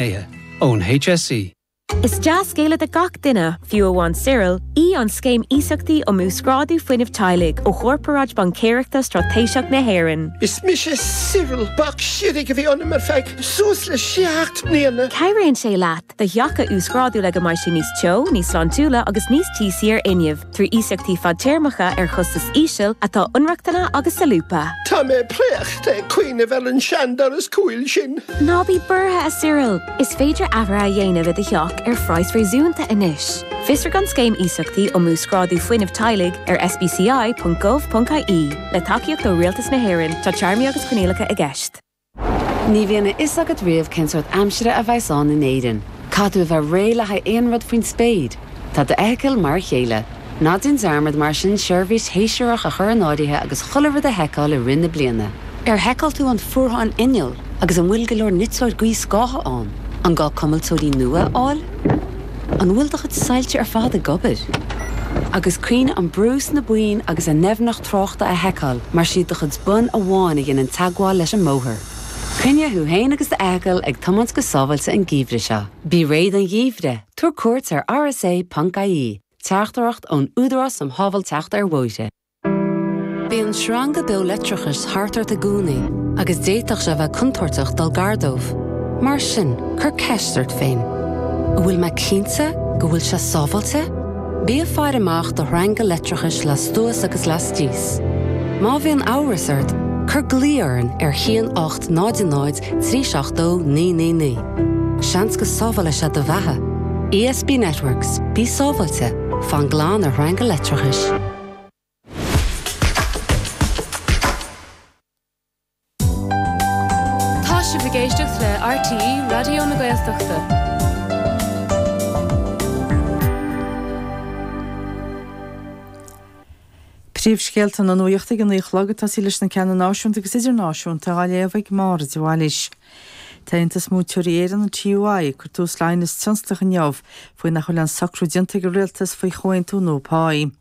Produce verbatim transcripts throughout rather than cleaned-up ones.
Gnéithe ón HSE. Is dea-scéala do gach duine, fiú amháin Cyril, í an scéim iasachtaí um uasghrádú fuinnimh teaghlaigh ó Chorparáid Baincéireachta Straitéiseach na hÉireann. Is mise Cyril bac sirig a bhí ionam ar feadh suas le seacht mbliana. Cabhraíonn sé leat do theach a uasghrádú le go mbeidh sé níos teo, níos sláintiúla agus níos tíosaí ar fhuinneamh, trí iasachtaí fadtéarmacha ar chostas íseal atá inrochtana agus solúbtha. Tá mé préachta ag cuimhneamh ar an seandoras cúil sin. Ná bí buartha a Cyril, is féidir athruithe a dhéanamh i do theach ar phraghas réasúnta anois. Fiosraigh an scéim iasachtaí um uasghrádú fuinnimh teaghlaigh ar sbci.gov.ie le tacaíocht ó Rialtas na hÉireann tá téarmaí agus coinníollacha i gceist. Ní bhíonn a fhios agat riamh cén sórt aimsire a bheas ann in Éirinn. Caithfidh tú a bheith réidh le haghaidh aon rud faoin spéir. Tá d'fheithicil mar a chéile. Ná déan dearmad mar sin seirbhís shéasúrach a chur in áirithe agus chuile rud a sheiceáil i rith na bliana. Ar sheiceáil tú an fuarthán inneall agus an bhfuil go leor niteoir gaothscátha ann, an gá cuimilteoirí nua a fháil? An bhfuil do chuid soilse ar fad ag obair? Agus cuimhnigh an brú sna boinn agus a ndoimhneacht tráchta a sheiceáil mar is iad do chuid bonn amháin a dhéanann teagmháil leis an mbóthar. Coinnigh thú féin agus d'fheithicil ag tiomáint go sábháilte an geimhreadh seo. Bí réidh don gheimhreadh, tabhair cuairt ar rsa.ie, teachtaireacht ón Údarás um Shábháilteacht ar Bhóithre. Bíonn sreanga beo leictreachais thart ort i gcónaí agus d'fhéadfadh sé bheith contúirteach dul gar dóibh. Mar sin, cuir ceist ort féin. An bhfuil mé cinnte go bhfuil sé sábháilte? Bí ag faire amach do shreanga leictreachais lastuas agus lastíos. Má bhíonn amhras ort, cuir glao orainn ar haon ocht náid náid trí seacht dó naoi naoi naoi. Seans go sábhálfaidh sé do bheatha. ESB Networks, bí sábháilte, fan glan ar shreanga leictreachais. Tá sibh ag éisteacht le RTÉ Raidió na Gaeltachta. Príomhscéalta na nuachta ag a naoi a chlog ag tosaí leis na ceanna náisiúnta agus idirnáisiúnta á léamh ag Máire de Bhailís. Tá Aontas Múinteoirí Éireann, an TUI, ag cur tús le haighneas tionsclach inniu faoi nach bhfuil aon socrú déanta ag an rialtas faoi chomhaontú nua páí.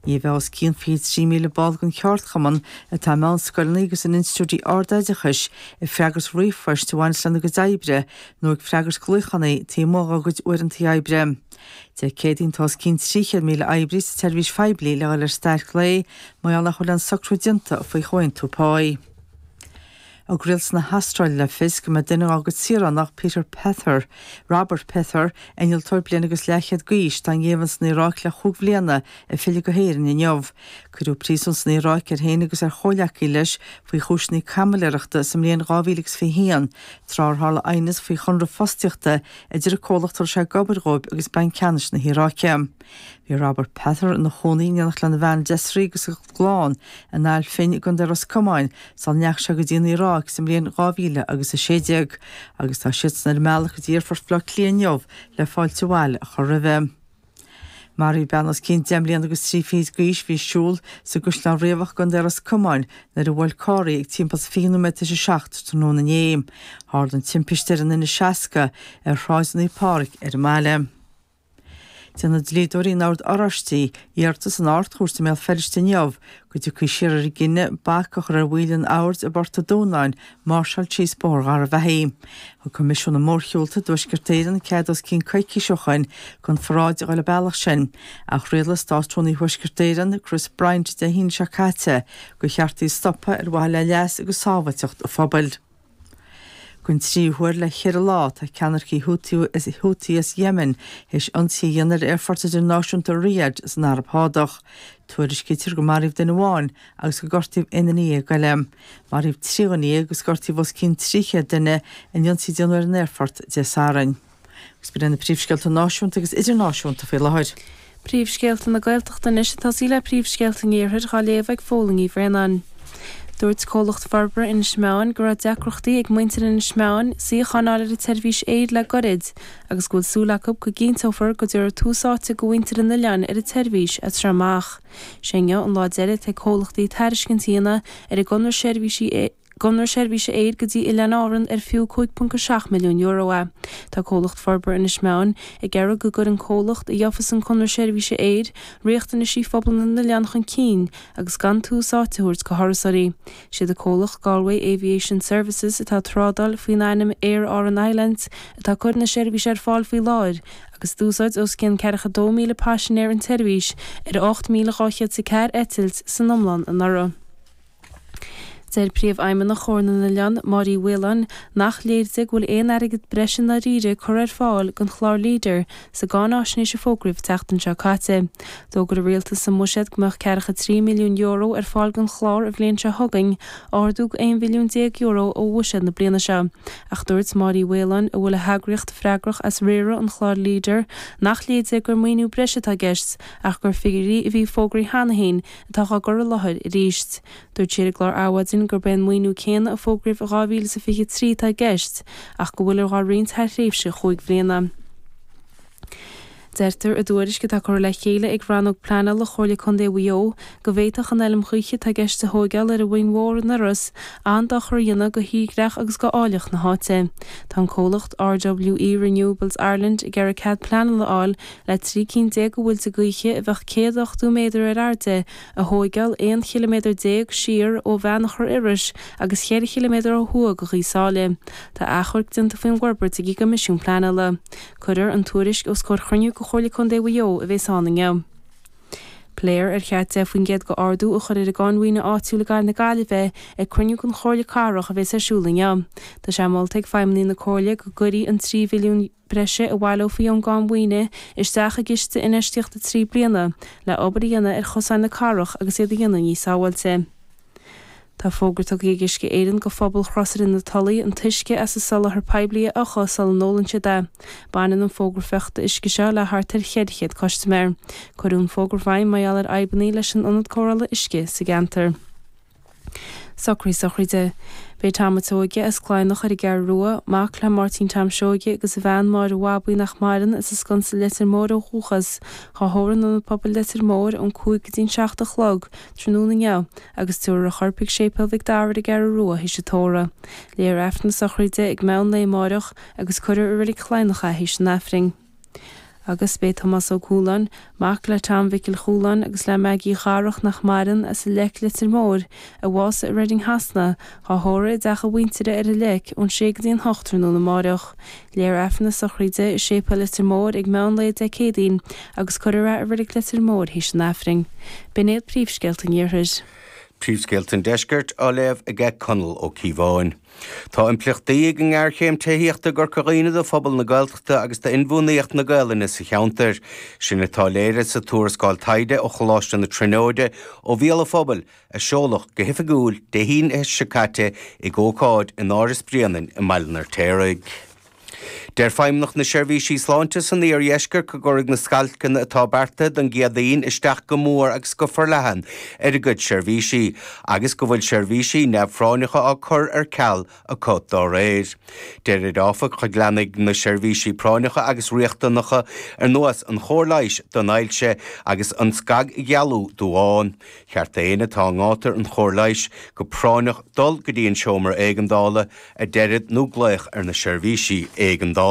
Ní bheidh os cionn fiche trí míle ball den cheardchumann atá i meánscoileanna agus in institiúidí ardoideachais ag freagairt ríomhphoist a bhaineas lena gcuid oibre nó ag freagairt glaochanna taobh amuigh dá gcuid uaireanta oibre. Dé Céadaoin tá os cionn trí chéad míle oibrí sa tseirbhís phoiblí le dhul ar stailc lae mar gheall nach bhfuil aon socrú déanta faoi chomhaontú páí. Thug rialtas na hAstráile le fios go mbeidh duine dá gcuid saoránach, Peter Pether, Robert Pether, innealtóir bliain agus leathchéad d'aois, atá i ngéibheann san Iaráic le chúig bhliana, ag filleadh go hÉirinn inniu. Cuireadh príosún san Iaráic air féin agus ar chomhghleacaí leis faoi chúiseanna caimiléireachta sa mbliain dhá mhíle agus fiche haon, tráth ar tharla aighneas faoi chonradh fostaíochta idir an comhlacht a raibh sé ag obair dhóibh agus Banc Ceannais na hIaráice. Bhí Robert Pether ina chónaí in éineacht lena bhean Desiree agus a gclann in Ail Finn i gContae Ros Comáin sula ndeachaigh sé go dtí an Iaráic sa mbliain dhá mhíle agus a sé déag agus tá siadsan ar a mbealach go dtí Aerfort Bhaile Átha Cliath inniu le fáilte abhaile a chur roimhe. Maraíodh bean os cionn deich mbliana agus trí fichid d'aois a bhí ag siúl sa gCaisleán Riabhach i gContae Ros Comáin nuair a bhuail carr í ag timpeall is fiche nóiméad tar éis a seacht tráthnóna inné. Tharla an timpiste ar an N seasca ar Shráid Naomh Pádraig ar an mbaile. Déanfaidh dlíodóirí an Oird Oráistigh iarratas san Ard-Chúirt i mBéal Feirste inniu go dtiocfaí siar ar an gcinneadh bac a chur ar bhaill an Oird i bPort an Dúnáin máirseáil síos Bóthar Gharbhachaidh. Thug Coimisiún na Mórshiúlta i dTuaisceart Éireann cead os cionn coicís ó shoin don pharáid a dhul an bealach sin, ach rialaigh Státrúnaí Thuaisceart Éireann, Chris Bryant Dé hAoine seo caite gur cheart í a stopadh ar mhaithe le leas agus sábháilteacht an phobail. Don tríú huair le ceithre lá, tá ceannaircigh Houthi as Yemen théis ionsaí a dhéanamh ar aerfort idirnáisiúnta Riyadh san Araib Shádach. Tuairiscítear gur maraíodh duine amháin agus gur gortaíodh aon duine dhéag eile. Maraíodh trí dhuine dhéag agus gortaíodh os cionn trí chéad duine in ionsaí a déanadh ar an aerfort Dé Sathairn. Agus b'in iad na príomhscéalta náisiúnta agus idirnáisiúnta faoi láthair. Príomhscéalta na Gaeltachta anois ag tosaí le príomhscéalta an Iarthair á léamh ag Fódhla Ní Bhraonáin. Dúirt comhlacht forbartha Inis Meáin go raibh deacrachtaí ag muintir Inis Meáin suíochán a fháil ar an tseirbhís aeir le goirid agus go bhfuil súil acu go gcinnteofar go dtabharfar tús áite do mhuintir an oileáin ar an tseirbhís as seo amach. Sé inniu an lá deiridh atá ag comhlachtaí tairiscint a dhéanamh ar an gconradh seirbhísí gconradh seirbhíse aeir go dtí Oileáin Árann ar fiú cúig ponc a seacht milliún euro é. Tá Comhlacht Forbartha Inis Meáin ag iarraidh go gcuireann comhlacht a gheofas an conradh seirbhíse aeir riachtanaisí phobal na n-oileán chun cinn agus gan tús áite a thabhairt do thurasóirí. Siad an comhlacht Galway Aviation Services atá ag trádáil faoin ainm Aer Arann Islands atá ag cur na seirbhíse ar fáil faoi láthair agus d'úsáid os cionn ceathracha dó míle paisinéir an tseirbhís ar ocht míle dhá chéad is a ceathair eitilt san iomlán anuraidh. Deir Príomhfheidhmeannach Chomhar na nOileán, Máire Uí Mhaoláin, nach léir di go bhfuil aon airgead breise i ndáiríre curtha ar fáil don chlár Leader sa gcáinaisnéis a fógraíodh an tseachtain seo caite. D'fhógair an Rialtas sa mBuiséad go mbeadh ceathracha trí milliún euro ar fáil don chlár an bhliain seo chugainn, ardú go aon mhilliún déag euro ó bhuiséad na bliana seo. Ach dúirt Máire Uí Mhaoláin, a bhfuil a heagraíocht freagrach as riaradh an chláir Leader, nach léir di gur maoiniú breise atá i gceist ach gur figiúirí a bhí fógraithe cheana féin atá á gcur i láthair arís. Dúirt sí ar an gclár Adhmhaidin gurb é an maoiniú céanna a fógraíodh i dhá mhíle is a fiche trí atá i gceist ach go bhfuiltear á roinnt thar thréimhse chúig bhliana. Deirtear i dtuairisc atá curtha le chéile ag Rannóg Pleanála Chomhairle Contae Mhaigh Eo go bhféadfadh an fheilm ghaoithe atá i gceist a thóigeáil ar an Mhuing Mhór in Iorras an-dochar a dhéanamh do thírdhreach agus do áilleacht na háite. Tá an comhlacht R W E Renewables Ireland ag iarraidh cead pleanála a fháil le trí cinn déag de mhuilte gaoithe a bheadh céad ochtó méadar ar airde a thóigeáil aon chiliméadar déag siar ó Bheannchar Iorrais agus cheithre chiliméadar ó thuaidh de Ghaoth Sáile. Tá achomharc déanta faoin bhforbairt ag an gCoimisiún Pleanála. Cuirfear an tuairisc os comhair chruinniú de Chomhairle Contae Mhaigh Eo a bheas ann inniu. Pléifear ar cheart deich faoin gcéad d'ardú a chur ar an gcáin mhaoine áitiúil i gCathair na Gaillimhe ag cruinniú den Chomhairle Cathrach a bheas ar siúl inniu. Tá sé molta ag feidhmeannaigh na Comhairle go gcuirfí an trí mhilliún breise a bhaileofaí ón gcáin mhaoine isteach i gciste infheistíochta trí bliana le obair a dhéanamh ar chosáin na cathrach agus iad a dhéanamh níos sábháilte. Tá fógra tugtha ag Uisce Éireann do phobal Chrosaire na Tulaí an t-uisce as an soláthar poiblí a fhiuchadh sula n-ólann siad é. Baineann an fógra fiuchta uisce seo le thart ar cheithre chéad custaiméir. Cuireadh an fógra i bhfeidhm mar gheall ar fhadhbanna leis an ionad cóireála uisce sa gceantar. Socruithe sochraide. B'é Tom a' tSeoige as Cladhnach ar an gCeathrú Rua, mac le Máirtín Tom Seoige agus a bhean Máire Bhabaí nach maireann as an Sconsa Leitir Móir ó dhúchas, á thórramh in Ionad Pobail Leitir Móir ón cúig go dtí an seacht a chlog tráthnóna inniu agus tabharfar a chorp chuig Séipéal Mhic Dara ar an gCeathrú Rua théis an tórraimh. Léifear Aifreann na sochraide ag meán lae amáireach agus cuirfear i Reilig Chladhnach é théis an Aifrinn. Agus b'é Tomás Ó Cualáin, mac le Tom Mhicil Chualáin agus le Maggie Dharach nach maireann as an Leic Leitir Móir, a bhásaigh i Reading Shasana, á thórramh i dteach a mhuintire ar an Leic ón sé go dtí an hocht tráthnóna amáireach. Léifear Aifreann na sochraide i Séipéal Leitir Móir ag meán lae Dé Céadaoin agus cuirfear é i Reilig Leitir Móir théis an Aifrinn. B'in iad príomhscéalta an Iarthair. Príomhscéalta an Deiscirt á léamh aige Conall Ó Cíobháin. Tá impleachtaí ag an ngéarchéim tithíochta i gCorca Dhuibhne do phobal na Gaeltachta agus d'inbhuanaitheacht na Gaelainne sa cheantar. Sin atá léirithe sa tuarascáil taighde ó Choláiste na Tríonóide ó bhéal an phobail a seoladh go hoifigiúil Dé hAoine seo caite ag ócáid in Áras Bhréanainn i mBaile an Fheirtéaraigh. Deir Feidhmeannacht na Seirbhísí Sláinte san iardheisceart go gcuirfidh na stailceanna atá beartaithe don gCéadaoin isteach go mór agus go forleathan ar a gcuid seirbhísí agus go bhfuil seirbhísí neamhphráinneacha á cur ar ceal acu dá réir. Deirid áfach go leanfaidh na seirbhísí práinneacha agus riachtanacha ar nós an chóir leighis don ailse agus an scagdhealú duáin. Cheart d'aon atá i ngátar an chóir leighis go práinneach dul go dtí an seomra éigeandála a deirid nó glaoch ar na seirbhísí éigeandála.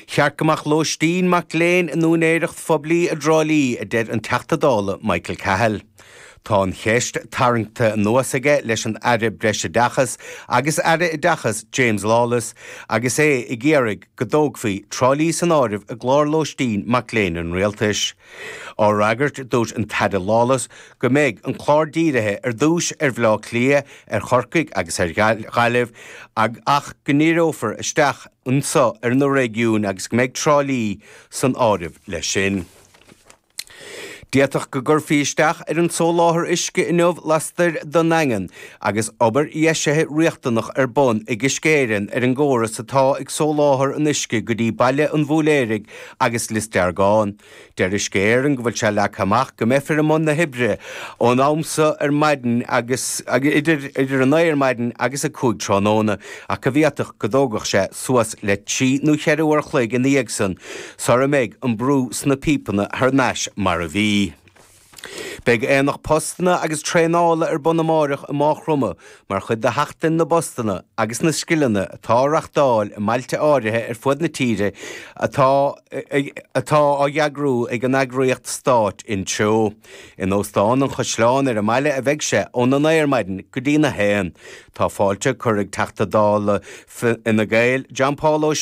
Cheart go mbeadh lóistín mac léinn in úinéireacht phoiblí i dTrá Lí a deir an Teachta Dála Michael Cahill. Tá an cheist tarraingthe anuas aige leis an Aire Breisoideachais agus Aire Oideachais James Lawless agus é ag iarraidh go dtógfaí Trá Lí san áireamh i gclár lóistín mac léinn an rialtais. Á fhreagairt dúirt an tAire Lawless go mbeidh an clár dírithe ar dtús ar Bhaile Átha Cliath, ar Chorcaigh agus ar Ghaillimh ach go ndíreofar isteach anseo ar na réigiúin agus go mbeidh Trá Lí san áireamh leis sin. D'fhéadfadh go gcuirfí isteach ar an soláthar uisce inniu lastoir den nDaingean agus obair dheisithe riachtanach ar bun ag Uisce Éireann ar an gcóras atá ag soláthar an uisce go dtí Baile an Bhúiléaraigh agus Lios Deargáin. Deir Uisce Éireann go bhfuil sé leagtha amach go mbeifear i mbun na hoibre ón am seo ar maidin agus idir idir a naoi ar maidin agus a cúig tráthnóna ach go bhféadfadh go dtógfadh sé suas le trí nó ceithre uair a chloig ina dhiaidh san sara mbeidh an brú sna píopanna thar n-ais mar a bhí. Beidh aonach postanna agus traenála ar bun amárach i Maigh Chromtha mar chuid de Sheachtain na bPostanna agus na Scileanna atá á reáchtáil i mbailte áirithe ar fud na tíre atá atá á eagrú ag an eagraíocht stáit Intreo. In Óstán an Chaisleáin ar an mbaile a bheidh sé óna naoi ar maidin go dtí na haon. Tá fáilte curtha ag Teachta Dála Fine Gael John Paul Ó Sé